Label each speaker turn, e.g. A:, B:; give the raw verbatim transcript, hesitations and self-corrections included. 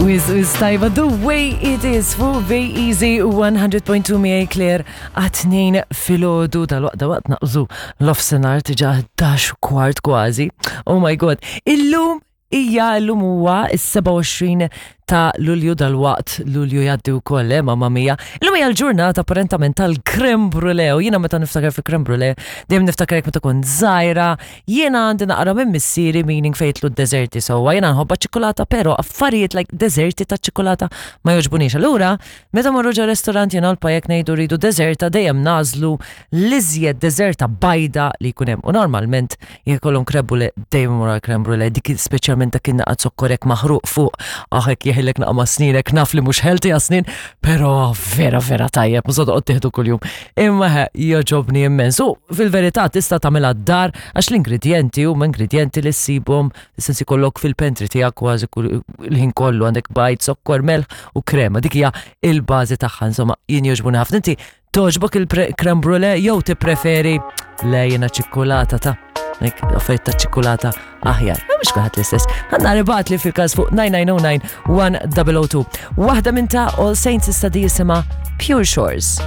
A: Wiz, wiz tajba, the way it is fuq Easy one hundred point two miegħi Claire għat-tnejn filgħodu. Dal-waqt waqt naqbżu l-nofsinhar diġà, ħdax u kwart kważi. Oh my God. Illum hija illum huwa is-sebgħa u għoxrin ta' Lulju. Dal-waqt Lulju jgħaddi wkoll, eh, mamma mia. Illum hija l-ġurnata apparentament tal-creme brulee u jiena meta niftakar fi creme brulee dejjem niftakar meta kont żgħira. Jiena għandi naqra minn missieri, meaning fejn jidħlu d-deżerti sewwa. Jiena nħobba ċikolata, però affarijiet like deżerti ta' ċikolata ma jogħġbunix. Allura, meta morru ġo restorant jiena l-pajek ngħidu rridu deżerta, dejjem nagħżlu l-iżjed deżerta bajda li jkun hemm. U normalment jekk ikollhom creme brulee, dejjem mur creme brulee, dik speċjalment dak in-naqa zokkor hekk maħruq fuq, ah, hekk jeħillek naqa ma' sninek, naf li mhux healthy għas-snien, però vera vera tajjeb, mhux toqgħod tieħdu kuljum. Imma he, jogħġobni immens. U fil-verità tista' tagħmilha d-dar għax l-ingredjenti huma ingredjenti li ssibhom sensi kollok fil-pantry tiegħek kważi kull il-ħin kollu. Għandek bajd, zokkor, melħ u krema. Dik hija il-bażi tagħha, insomma, jien jogħġbuni ħafna. Inti togħġbok il-creme brulee jew tippreferi le jiena ċikkulata ta' Nek, offerta ċikkulata aħjar? Ma mhux kulħadd l-istess. Għandna ribat li fil-każ fuq nine nine zero nine one zero zero two. Waħda minn ta' All Saints issa, di jisimha Pure Shores.